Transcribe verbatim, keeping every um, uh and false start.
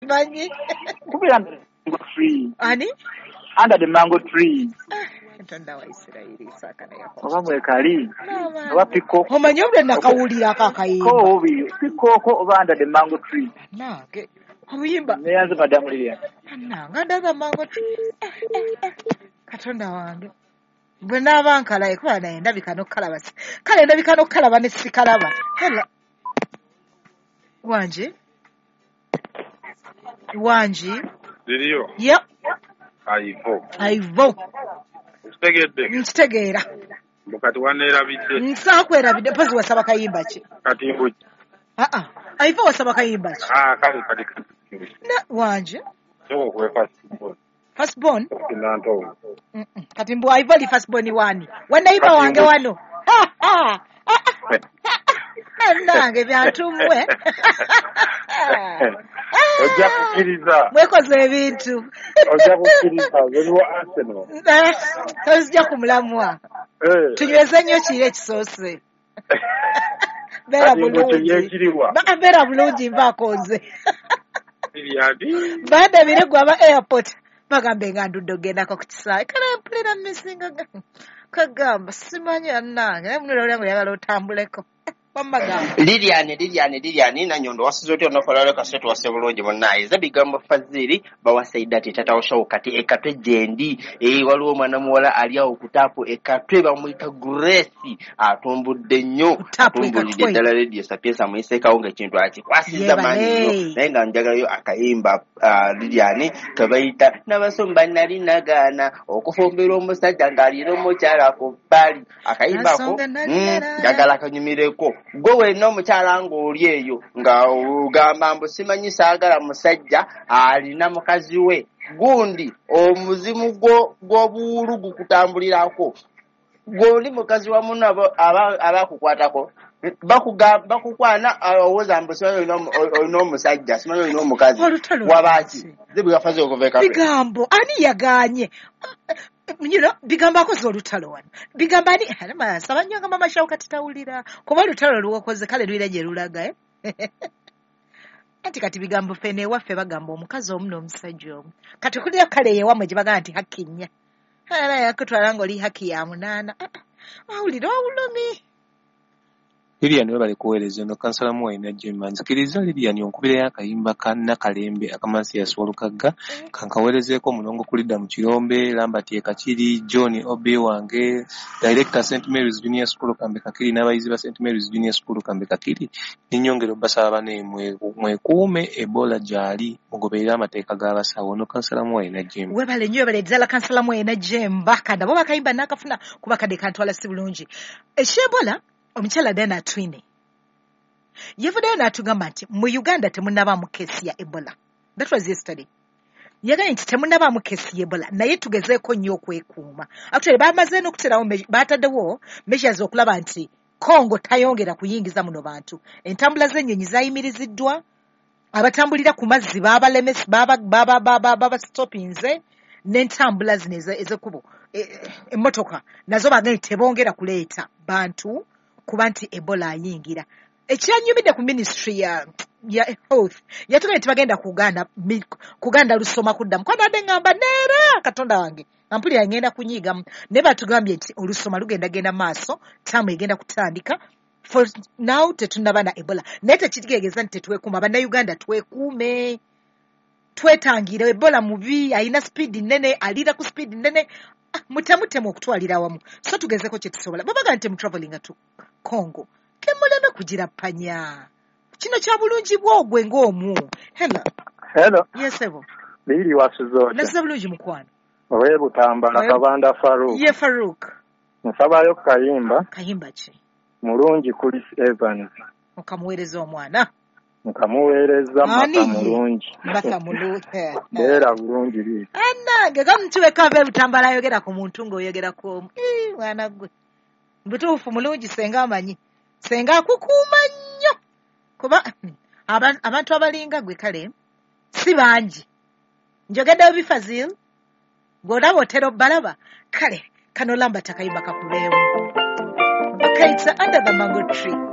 Manyi. Kubeera under the mango tree. Ani? Under the mango tree. Katonda wa Isirayiri, Isaaka ne Yakobo. Oba mwekali oba peacock. Omanyi obudde nakawulirako akayimba. Ko peacock oba under the mango tree. Nange obuyimba. Neyanze Madamu Lilian. Nange under the mango tree. Katonda wange. Bwe naaba nkalaye kuba naye ndabika n'okukalaba. Kale ndabika n'okukalaba ne sikalaba. Hello. Wangi? Wangi? Liriyo. Yep. Aivo. Aivo. Nkitegedde. Nkitegeera. Mbu kati waneerabidde. Nsakwerabidde mpozi wasaba kayimba ki? Kati mbu. Ah ah. Aivo wasaba kayimba ki? Ah kale kati. Na wangi? Sooka okuwe first born. First born? Nantongo. Mm -mm. Kati mbu Aivo li first born wani? Wanaiba wange wano. Ha ha. Nange byantumwe. Ojja kukkiriza. Mwekoze ebintu. Ojja kukkiriza oli wa Arsenal. Tozijja kumulamwa. Tunyweze nnyo kiri ekisoose. Beera bulungi. Beera bulungi nvaako nze. Bandabire gwe aba airport. Bagambe nga ndudde ogendako ku kisaawe. Kale mpulira mmisinga kagamba simanyi annange. Naye munula olyange oyagala otambuleko. Lilian, Lilian, Lilian, Nanyondo wasize otya olunaku olwaleero kasita tuwase bulungi munnaye. Nze bigambo Fazili bawasaida ti taata wa Shawo kati ekatwe gyendi. Eh, waliwo omwana muwala ali awo ku taapu ekatwe bamuyita Grace atumbudde nnyo. Atumbulidde ddala Radio Sapienza amuyiseekawo ng'ekintu akikwasizza maanyi nnyo. Naye nga njagalayo akayimba Lilian ke bayita Nabasumba nali nagaana okufumbirwa omusajja ng'alina omukyala ku bbali. Akayimba ako njagala kanyumireko. Gwe wenna omukyala ng'oli eyo nga ogamba mbu simanyi saagala musajja alina mukazi we gundi omuzimu gw'obuwulu gukutambulirako gw'oli mukazi wa munno abakukwatako bakukwana owooza mbu simanyi olina omusajja simanyi olina omukazi wabaaki zibwafaze okuva ekatwe. Bigambo ani yagaanye? You know, bigambo akoze olutalo wano. Bigambo ani nsaba nnyo nga Mama Shawo kati tawulira kuba olutalo lwokoze kale lulira gye lulaga eh? Anti kati bigambo ffene ewaffe bagamba omukazi omu n'omusajja omu. Kati kulira kale ewammwe gye bagamba nti haki nnya. Era yakutwala ng'oli haki ya munaana. Awulira obulumi. Lilian webale kuweereza eno kansala Muwayina Jemma. Nzikiriza Lilian onkubireyo akayimba ka Nakalembe akamansi Walukagga kankaweerezeeko Mulongo Kulidda mu Kirombe, Lambert e Kakiri, John Obi wange, Director Saint Mary's Junior School Kambe Kakiri n'abayizi ba Saint Mary's Junior School Kambe Kakiri. Ninnyongera obbasaba bane mwekuume Ebola gy'ali mugoberere amateeka g'abasawo. Ono kansala Muwayina Jemma. Webale nnyo webale ddala kansala Muwayina Jemma. Kanda bo bakayimba nakafuna kuba kadde kantwala si bulungi. Eky'Ebola omukyala Diana Atwine yavuddeyo n'atugamba nti mu Uganda temunnabaamu keesi ya Ebola. That was yesterday. Yagambye nti temunnabaamu keesi ya Ebola naye tugezeeko nnyo okwekuuma. Actually bamaze n'okuterawo bataddewo measures okulaba nti Congo tayongera kuyingiza muno bantu. Entambula z'ennyonyi zaayimiriziddwa, abatambulira ku mazzi baabalemesa babastopinze n'entambula zino ez'ekkubo emmotoka nazo bagambye tebongera kuleeta bantu kuba nti Ebola ayingira. Ekyanyumidde ku ministry ya ya health yatugambye nti bagenda kuganda kuganda lusoma kuddamu. Kuba nabadde ngamba neera Katonda wange mpulira ngenda kunyiigamu naye batugambye nti olusoma lugenda genda maaso ttaamu egenda kutandika. For now tetunnaba na Ebola naye tekitegeeza nti tetwekuuma. Bannayuganda twekuume, twetangire. Ebola mubi, alina sipiidi nnene, aliira ku sipiidi nnene. Mutemutemu okutwalira awamu so tugezeko kye tusobola. Babaga nti mutravelinga to Congo kemuleme kugirappanya. Kino kya bulungi bwogwe ng'omu. Hello. Hello. Yes, ebo. Lili wasuze otya? Nasuze bulungi mukwano. Owe Butambala Kabanda Faruk. Ye Faruk. Nsabayo kayimba. Kayimba ki? Mulungi Chris Evans. Okamuweereza omwana. Nkamuweereza Mata mulungi. Mata mulungi. Beera bulungi liri. Annange gamutuwe kava Butambala ayogera ku muntu ng'oyogera ku omu. Ii mwana gwe. Butuufu mulungi senga amanyi. Senga akukuuma nnyo. Kuba abantu abalinga gwe kale si bangi. Njogeddeyo Bifazil. Gw'olaba otera obbalaba. Kale kano lamba takayimba kakubeewo. Okay, it's under the mango tree.